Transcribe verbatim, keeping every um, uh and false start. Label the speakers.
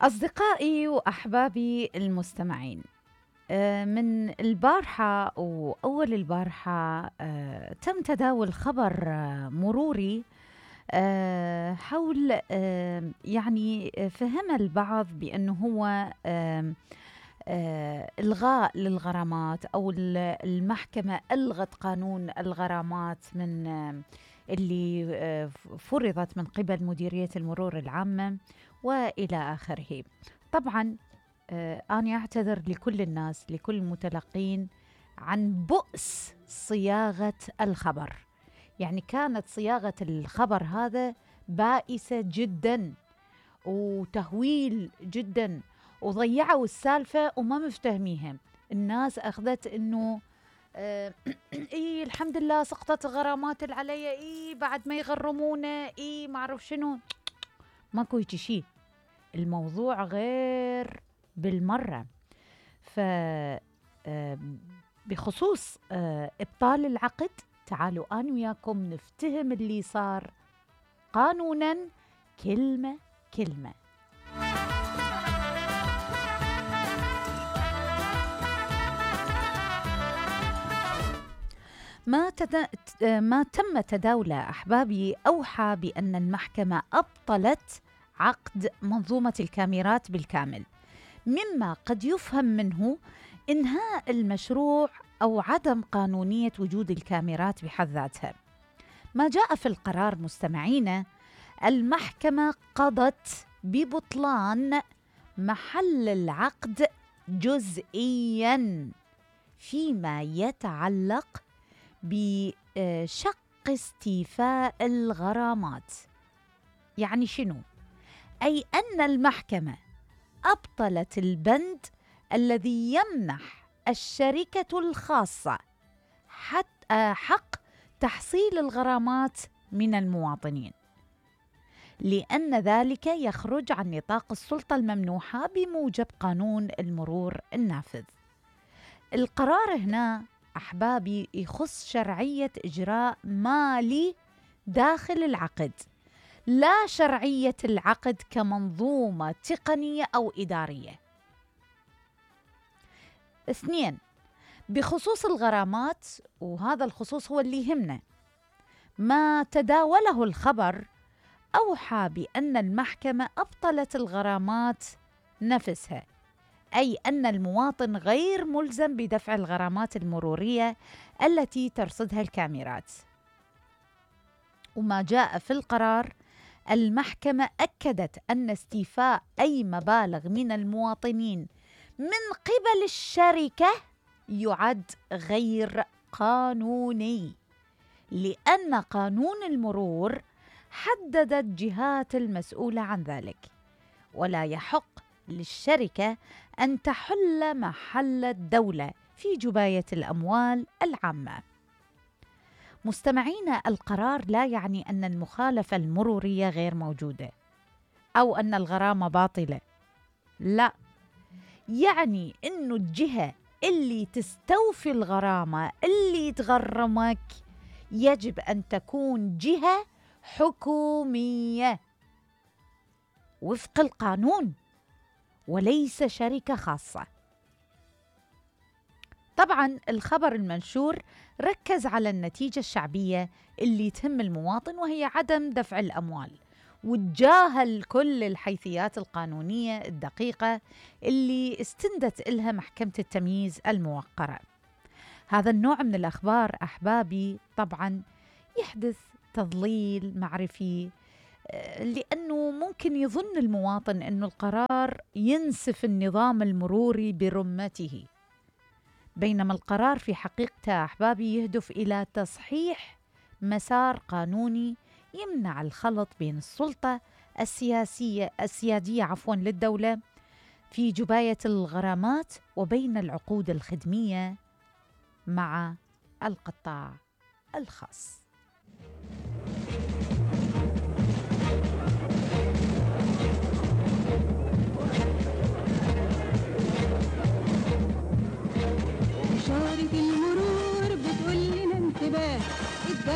Speaker 1: أصدقائي وأحبابي المستمعين، آه، من البارحة وأول البارحة آه، تم تداول خبر آه، مروري آه، حول آه، يعني فهم البعض بأنه هو آه، آه، إلغاء للغرامات أو المحكمة ألغت قانون الغرامات من آه، اللي آه، فرضت من قبل مديرية المرور العامة وإلى آخره. طبعا آه، أنا أعتذر لكل الناس، لكل المتلقين عن بؤس صياغة الخبر. يعني كانت صياغة الخبر هذا بائسة جدا وتهويل جدا، وضيعوا السالفة وما مفتهميها. الناس أخذت إنه آه إيه الحمد لله سقطت غرامات اللي علي، إيه بعد ما يغرمونا، إيه ما أعرف شنو. ماكو هيك شيء، الموضوع غير بالمرة. ف آه بخصوص آه إبطال العقد، تعالوا أنا وياكم نفتهم اللي صار قانوناً كلمة كلمة. ما, تد... ما تم تداوله أحبابي أوحى بأن المحكمة أبطلت عقد منظومة الكاميرات بالكامل، مما قد يفهم منه إنهاء المشروع أو عدم قانونية وجود الكاميرات بحد ذاتها. ما جاء في القرار مستمعينا، المحكمة قضت ببطلان محل العقد جزئياً فيما يتعلق بشق استيفاء الغرامات. يعني شنو؟ أي أن المحكمة أبطلت البند الذي يمنح الشركة الخاصة حتى حق تحصيل الغرامات من المواطنين، لأن ذلك يخرج عن نطاق السلطة الممنوحة بموجب قانون المرور النافذ. القرار هنا أحبابي يخص شرعية إجراء مالي داخل العقد، لا شرعية العقد كمنظومة تقنية أو إدارية. اثنين، بخصوص الغرامات، وهذا الخصوص هو اللي يهمنا، ما تداوله الخبر أوحى بأن المحكمة أبطلت الغرامات نفسها، أي أن المواطن غير ملزم بدفع الغرامات المرورية التي ترصدها الكاميرات. وما جاء في القرار، المحكمة أكدت أن استيفاء أي مبالغ من المواطنين من قبل الشركة يعد غير قانوني، لأن قانون المرور حدد الجهات المسؤولة عن ذلك، ولا يحق للشركة أن تحل محل الدولة في جباية الأموال العامة. مستمعينا، القرار لا يعني أن المخالفة المرورية غير موجودة أو أن الغرامة باطلة، لا، يعني أنه الجهة اللي تستوفي الغرامة اللي تغرمك يجب أن تكون جهة حكومية وفق القانون وليس شركة خاصة. طبعا الخبر المنشور ركز على النتيجة الشعبية اللي تهم المواطن، وهي عدم دفع الأموال، وتجاهل كل الحيثيات القانونية الدقيقة اللي استندت إلها محكمة التمييز الموقرة. هذا النوع من الأخبار أحبابي طبعا يحدث تضليل معرفي، لأنه ممكن يظن المواطن أن القرار ينسف النظام المروري برمته، بينما القرار في حقيقته أحبابي يهدف إلى تصحيح مسار قانوني يمنع الخلط بين السلطة السياسية السيادية عفوا للدولة في جباية الغرامات وبين العقود الخدمية مع القطاع الخاص.